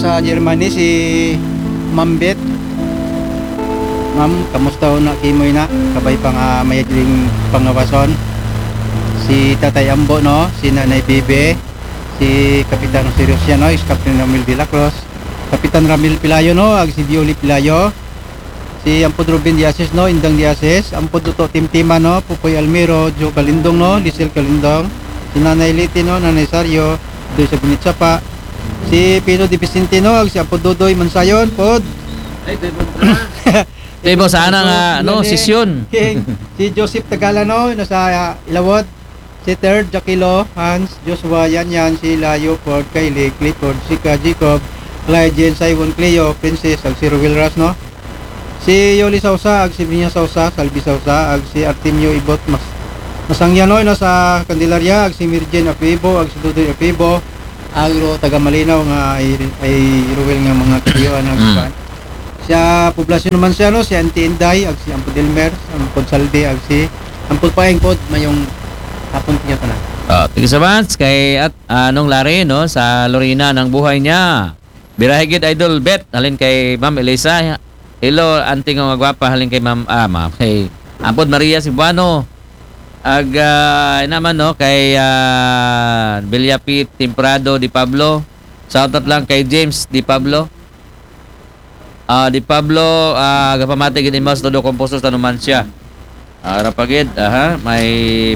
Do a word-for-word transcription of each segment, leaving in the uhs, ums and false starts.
Sa Germany, si Ma'am Beth. Ma'am, kamusta ho na kimo na? Kabay pa nga mayad ning pangawason. Si Tatay Ambo, no? Si Nanay Bibi. Si Kapitan Jose Luciano, is Captain Ramil de la Cruz. Kapitan Ramil Pilayo, no? Ag si Violi Pilayo. Si Ampod Ruben Diasis, no? Indang Diasis. Ampod Duto Timtima, no? Pupoy Almiro, Joe Kalindong, no? Lisel Kalindong. Si Nanay Liti, no? Nanay Sario, Doy sa Binit Sapa. Si Pino de Vicentino, ag si Apo Dodoy Mansayon, pod. Ay, Doy Bontra. Doy Bontra, sana nga, no, sesyon. Si Joseph Tagalano, nasa, ah, Ilawod. Si Third, Jaquilo, Hans, Joshua, Yan Yan, si Layo, Ford, Kylie, Clifford, Sika, Jacob, Clyde, Jen, Simon, Cleo, Princess, ag si Ruel Ras, no? Si Yoli Sausa, ag si Brinya Sausa, Salvi Sausa, ag si Artemio Ibot, Mas Masangyan, no? Nasa Candelaria, ag si Mirjen Apibo, ag si Dudoy Apibo, ag ro taga Malinaw nga ay, ay Ruel nga mga kaiyoan, ag Mm. kuwan. Sa poblasyon naman siya, no? Si Auntie Inday, ag si Ampod Elmer, Ampod Saldi, ag si Ampod Paeng pod, mayong hapon niya tanan. Oh, thank you so much kay at Anong Larry, no, sa Lorena ng buhay niya. Birahe gid, Idol Bet, halin kay Ma'am Elisa. Hello, auntie nga gwapa, halin kay Ma'am, ah, Ma'am, kay Ampod Maria Cebuano. Ag, ah, naman, no, kay, ah, Villapit Temprado de Pablo. Shout out lang kay James de Pablo. Ah, de Pablo, ah, gapamati gid imo sa todo composers tanuman siya. Ara pa gid, aha, may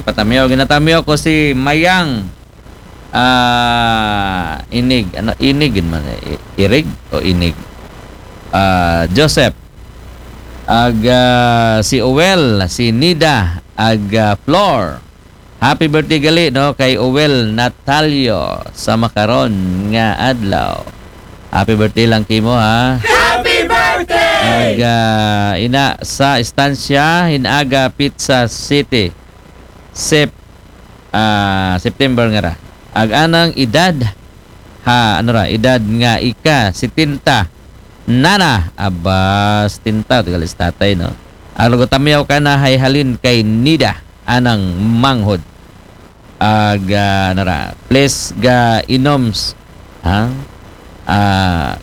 patamiyaw. Ginatamiyaw ko si Mayang, ah, Inig. Ano, Inig gid man, eh, I- Irig o Inig? Ah, Joseph. Ag, ah, si Uwel, si Nida, ag, ah, Flor. Happy birthday gali, no, kay Uwel Natalio sa makaron nga adlaw. Happy birthday lang kimo, ha. Happy birthday! Ag, ah, ina sa Estancia, Hinaga, Pizza City. Sep, ah, September nga ra. Ag anang edad, ha, ano ra, edad nga ika setenta. Nana, aba, setenta, tigalis tatay, no? Ag lugo tamiyaw ka na hay halin kay Nida, anang manghod. Ag, ah, ano ra, please ga inoms, ha? Ah,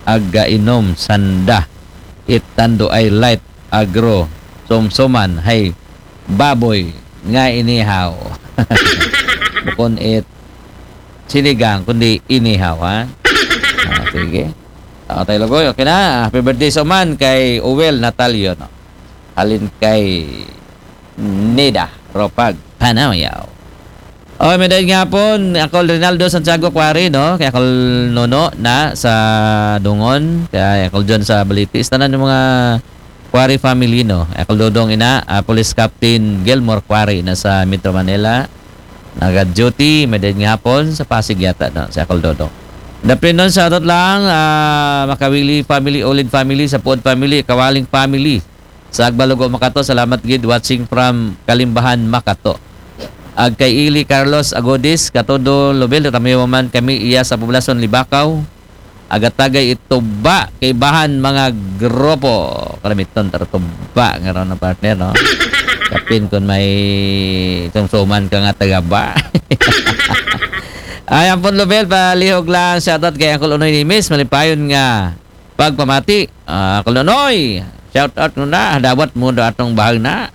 ag ga inom sanda. It tando ay light agro. Somsoman, hay baboy nga inihaw. Bukon it sinigang, kundi inihaw, ha? Ah, sige. Ah, tayo lugoy, okay na. Happy birthday sa uman kay Uwel Natalio, no? Halin kay Nida Ropag Panayaw. Oh, may dahil nga po, Uncle Rinaldo Santiago Quarry, no? Kay Uncle Nono na sa Dungon, kay Uncle John sa Balitis, tanan yung mga Quarry family, no? Uncle Dodong ina, ah, Police Captain Gilmore Quarry na sa Metro Manila. Nag-duty, may dahil nga hapon sa Pasig yata, no? Si Uncle Dodong. Daplinon, shoutout lang, ah, Makawili family, Olid family, Sapuod family, Kawaling family. Sa Agbalugo, Makato, salamat gid, watching from Kalimbahan, Makato. Ag kay Ili Carlos Agodis, katudo Lobel, tatamiwa man kami iya sa Poblasyon Libakaw. Agatagay ituba kay bahan mga grupo. Kalamiton tara tuba nga raw na partner, no? Kapin kung may sumsuman ka nga tagaba. Ay, ampon Lobel, palihog lang shoutout kay Uncle Unoy Nimis, malipayon nga pagpamati. Ah, Uncle Unoy, shoutout mo na, dawat mo do atong bahag na.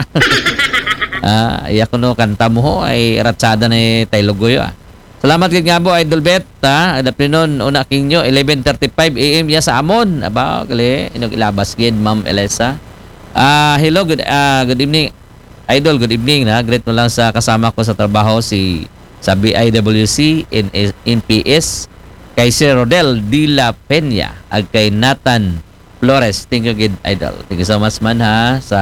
Ah, iya kuno kanta mo ho, ay ratsada ni Taylogoy, ah. Salamat gid nga po, Idol Bet, ha? Daplinon, una kinyo, eleven thirty-five A M iya sa amon. Aba, gali, inog ilabas gid, Ma'am Elisa. Ah, hello, good, ah, good evening. Idol, good evening, na. Greet mo lang sa kasama ko sa trabaho, si sa B I W C, in, in P S, kay Sir Rodel de la Peña, ag kay Nathan Flores. Thank you gid, Idol. Thank you so much man, ha, sa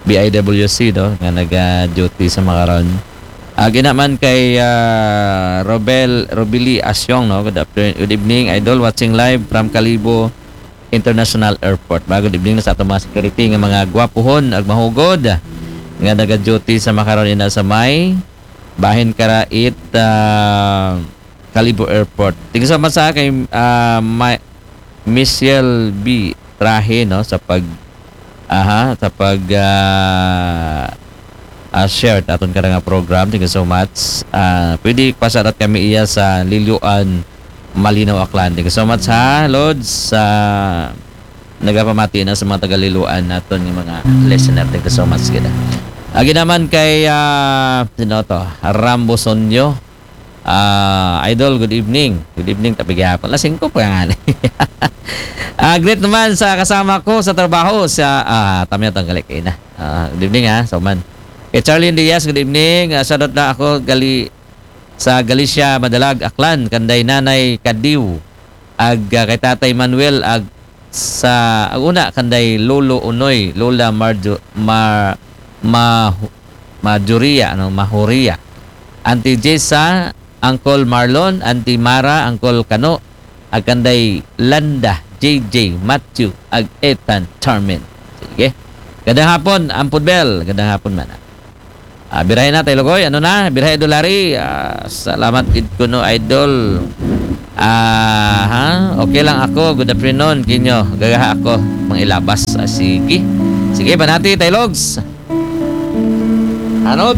B I W C, no, nga naga-duty sa makaron. Ag ina man kay, ah, Robel, Robili Asyong, no. Good afternoon, good evening, Idol. Watching live from Kalibo International Airport. Ba, good evening na sa atong mga security nga mga gwapuhon ag mahugod nga naga-duty sa makaron ina sa may bahin kara it, ah, Kalibo Airport. Thank you so much sa kay, ah, Ma-, Michelle B Trahe, no, sa pag, aha, sa pag, ah, ah, share aton kada nga program. Thank you so much. Ah, pwede pa-shoutout kami iya sa Liloan Malinaw, Aklan. Thank you so much, ha, Lods, sa nagapamati na sa mga taga-Liloan naton nga mga listener. Thank you so much, gid. Agi naman kay, ah, sino to? Rambo Sonyo. Ah, Idol, good evening. Good evening, tabi gihapon. Alas singko pa nga ni. Ah, greet naman sa kasama ko sa trabaho, sa, ah, tamya tong gali kay na. Ah, good evening, ha, sa uman. Kay Charlene Diaz, good evening. Ah, shoutout na ako, gali, sa Galicia, Madalag, Aklan, kanday Nanay Kadiw, ag, ah, kay Tatay Manuel, ag sa, ag una, kanday Lolo Unoy, Lola Marjo-, Mar-, Ma-, Majoria, ano, Mahoria. Auntie Jessa, Uncle Marlon, Auntie Mara, Uncle Kano, ag kanday Landa, J J, Matthew, ag Ethan, Charmin. Sige. Gandang hapon, Ampod Bel. Gandang hapon man. Ah, birahe na, Tay Lugoy. Ano na? Birahe, Idol Larry. Ah, salamat gid kuno, Idol. Ah, ha? Okay lang ako. Good afternoon kinyo. Gagaha ako mangilabas. Ah, sige. Sige, panati, Tay Logs. Hanot.